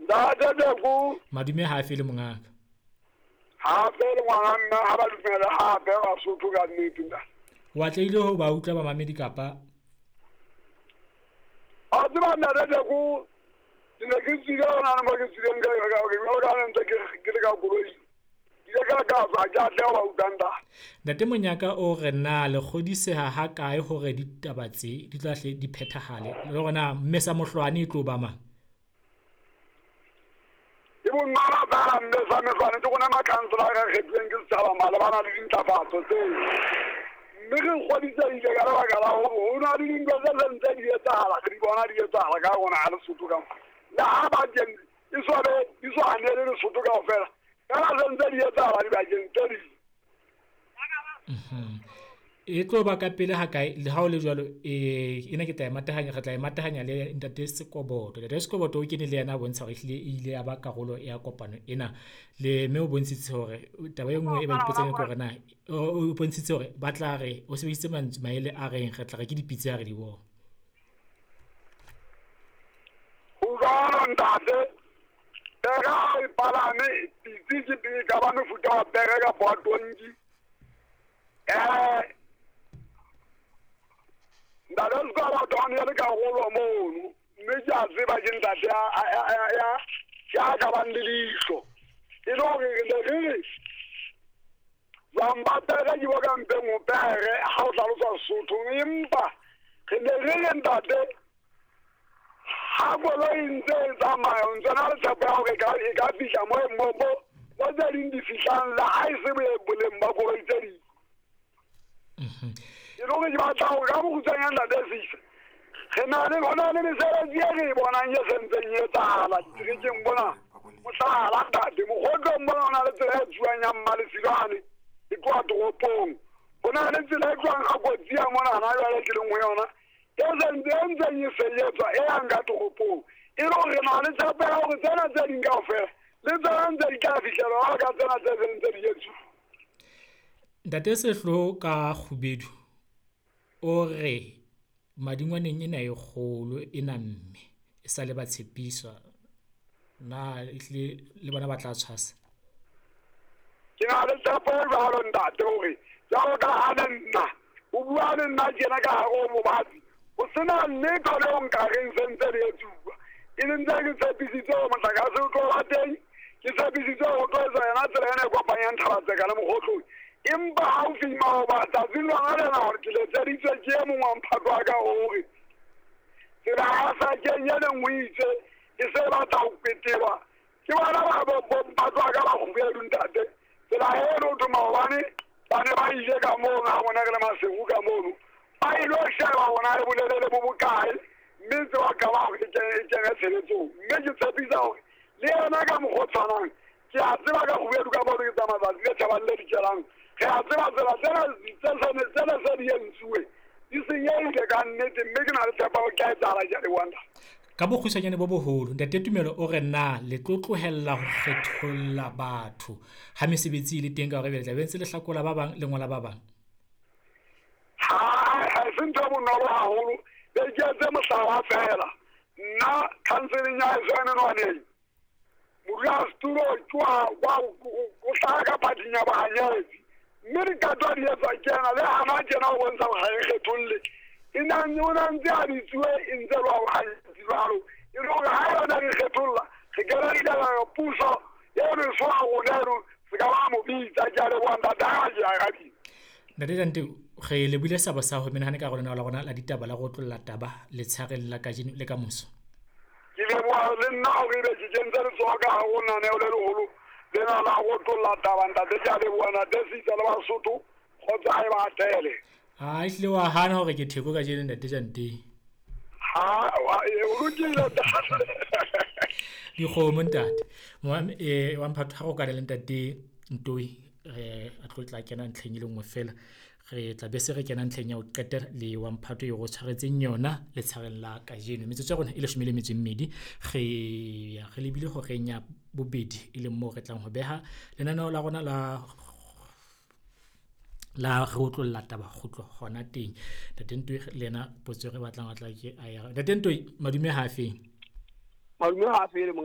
Ntate Teko. Madume ha a fele mongaka. Ha fele ngwana mme ha ba dumele hape Basotho ka nnete ntate. O atlehile ho ba utlwa bamamedi kapa? A tseba ntate Teko, ke ne ke tswile hona le mo ke tswileng ka jwalo ka ha ne ntse ke le ka koloing. Ke ile ka ka tswa ke atleha ho ba utlwa ntate. Ntate Monyaka o re na le kgodiseha ha kae hore ditaba tse di tla hle di phethahale le hore na mme sa mohlwane e tlo ba mang? Ke bonolo feela mme sa mehlwane ke rona makhansela a kgethuweng ke setjhaba malebana le dintlafatso tseo. Mme re kgodisehile ka lebaka la hore ho na le dintho tse seng tse di etsahala, re di bona di etsahala ka rona ha Lesotho ka mona. Le ha bakeng e so be di so hanele Lesotho kaofela, feela se ntse di etsahala dibakeng tse ding. E tlo ba ka pele ha kae? Le ha o le jwalo, ena ke tla e matahanya, re tla e matahanya le ntate Sekoboto. Ntate Sekoboto o kene le yena a bontsha hore ehlile e ile ya ba karolo ya kopano ena. Le mme o bontshitse hore taba e nngwe e ba ipotsang ke hore na o bontshitse hore ba tla re o sebedisitse mantswe maele a reng re tla re ke dipitse ha re di bona. Ho jwalo ntate, pere ha e palame pitse ke e ka ba mefuta wa pere kapa wa tonki. Ntate Sekoboto a ne le karolo mono, mme ke a tseba ke ntate ya ka bang le leihlo. E le hore re ne re re jwang ba pere ke bo ka mpeng ho pere ha o hlalosa Sesotho, empa re ne re re ntate ha koloi ntse e tsamaya o ntse na le tshepo ya hore e ka fihla mo tse ding di fihlang le ha e se boleng ba koloi tse ding. E le hore ke batla hore ka bokgutshwanyane ntate Sisa, re na le hona le mesebetsi e re e bonang e sentseng e etsahala diterekeng mona. Mohlala ntate, mokgotlong mona ho na le tsela e tsuwang ya Mmalefilwane e tloha toropong. Ho na le tsela e tlohang ga kotsi ya mona hana jwale ke leng ho yona e sentse e ntseng e sebetswa e yang ka toropong. E le hore re na le tshepo ya hore tsena tse ding kaofela le tsona ntse di tla fihlelwa jwalo ka tsena tse seng ntse di etsuwa. Ntate Sehloho ka Kgubedu o re madingwaneng ena e kgolo e namme e sa le ba tshepiswa, na ehlile le bona ba tla tshwasa? Ke na le tshepo e jwalo ntate hore jwalo ka ha le nna o bua le nna tjena ka hare ho bobatsi, ho sena letho leo nka reng se ntse le etsuwa. E le ntse ke tshepisitse hore motlakase o tlo ba teng, ke tshepisitse hore o tlo etsa yona tsela ena e kopanyang Thabatseka le Mokgotlong. Empa haufi maoba tsatsing lona lena hore ke letseditswe ke e mong wa mphato wa ka hore tsela ya Sakeng e leng o itse e se batla ho petelwa ke bona ba bo mphato wa ka ba Kgubedu ntate. Tsela eno ho thwe maobane ba ne ba ile ka mono ha rona re le Maseru ka mono, ba ilo sheba hore na e bolelele bo bokae, mme ntse ba qala hore e kene tshebetsong. Mme ke tshepisa hore le yena ka mokgwa o tshwanang, ke a tseba ka Kgubedu ka mono ke tsamaya tsatsi le tjhabang le dikelang. Re a tseba tsela tsena tsena se di entsuwe di senyehile ka nnete, mme ke na le tshepo hore ke a etsahala, ke a leboha ntate. Ka bokgutshwanyane bo boholo, ntate Tumelo o re na le tlo tlohella ho kgetholla batho ha mesebetsi e le teng ka hore ebe le tla be ntse le hlakola ba bang le ngola ba bang? Ha se ntho e bonolo haholo, be ke etse mohlala feela. Nna counseling ya heso ya menwaneng, modulasetulo ke o hlaha ka phathing ya bohanyetsi, mme diqeto ha di etswa ke yena, le hana tjena ho bontsha hore ha e kgetholle. E na o na ntse a bitsuwe e ntse le wa bohanyetsi jwalo. E le hore ha yona re kgetholla, re kena ditaba puso eno e so ha rona eno, se ka ba mo bitsa. Ke a leboha ntate, ha ke arabile. Ntate Jante, re lebile sabo sa ho menahane ka lenaneo la rona la ditaba la go otlolla taba letshareng la kajeno le ka moso. Ke leboha le nna hore ebe ke kentse letsoho ka hare ho lenaneo le leholo lena la go otlolla taba ntate. Ke a leboha ntate Sitsa le Basotho, kgotso ha e ba atele. Ha ehlile wa hana hore ke theko kajeno ntate Jante. Ha, o lokile ntate. Dikgomo ntate. Wa mphatho ha go kana le ntate Ntoi, re a tlo tla kena ntlheng e le nngwe fela. Re tla be se re kena ntlheng ya ho qetela le wa mphato eo re tshwaretseng yona letshareng la kajeno. Metsotso ya rona e 12, re ya re lebile horeng ya bobedi e leng moo re tlang ho beha lenaneo la rona la re otlolla taba kgutlo hona teng. Ntate Ntoi le yena potso e re batlang a tla ke a ya. Ntate Ntoi, madume ha a feng? Madume ha a fele monga.